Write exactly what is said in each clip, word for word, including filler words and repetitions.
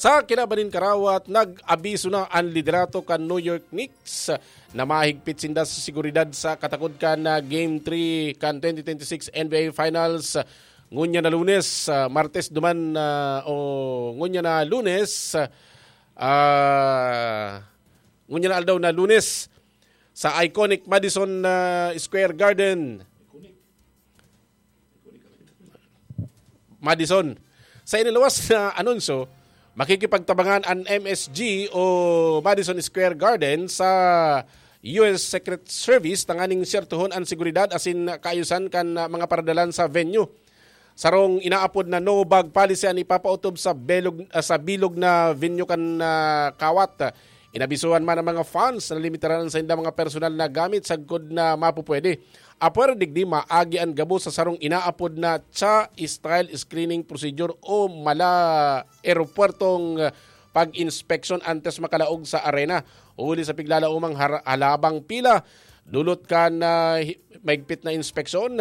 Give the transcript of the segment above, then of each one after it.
Sa kinaban nin karawat, nag-abiso na an liderato kan New York Knicks na mahigpit sinda sa seguridad sa katakod kan, ah, Game three kan twenty twenty-six N B A Finals. Ngunyan na Lunes, ah, Martes duman, ah, o ngunyan na Lunes, ah, ngunyan na aldaw na Lunes sa iconic Madison, ah, Square Garden. Madison. Sa iniluwas na anunsyo, makikipagtabangan an M S G o Madison Square Garden sa U S Secret Service tanganing sertuhon an seguridad asin kaayusan kan, ah, mga paradalan sa venue. Sarong inaapod na no-bag policy an ipapaotob sa belog, ah, sa bilog na venue kan, ah, kawat. Inabisuhan man ang mga fans na limitaran sa saindang mga personal na gamit sagkod na mapupwede. Apwera digdi, maagi an gabos sa sarong inaapod na cha style screening procedure o mala eropuwertong pag-inspeksyon antes makalaog sa arena. Huli sa piglalaomang har- halabang pila, dulot kan, ah, hi- maigpit na inspeksyon.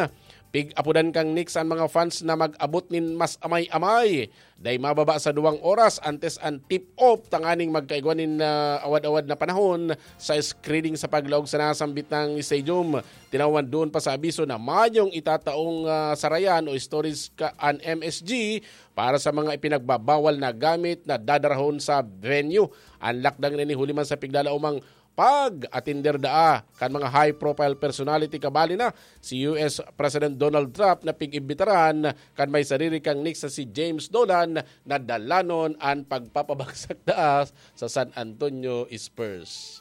Pig-apodan kan Knicks an mga fans na mag-abot nin mas amay-amay. Dai mababa sa duwang oras antes an tip-off tanganing magkaigwa nin, ah, awad-awad na panahon sa screening sa paglaog sa nasambit na stadium. Tinawan doon pa sa abiso na mayong itataong, ah, sarayan o storage ka an M S G para sa mga ipinagbabawal na gamit na dadarahon sa venue. An lakdang ini huli man sa piglalaomang pag-atender daa kan mga high-profile personality, kabali na si U S President Donald Trump na pig-imbitaran kan may sariri kan Knicks na si James Dolan na dalanon an pagpapabagsak daa sa San Antonio Spurs.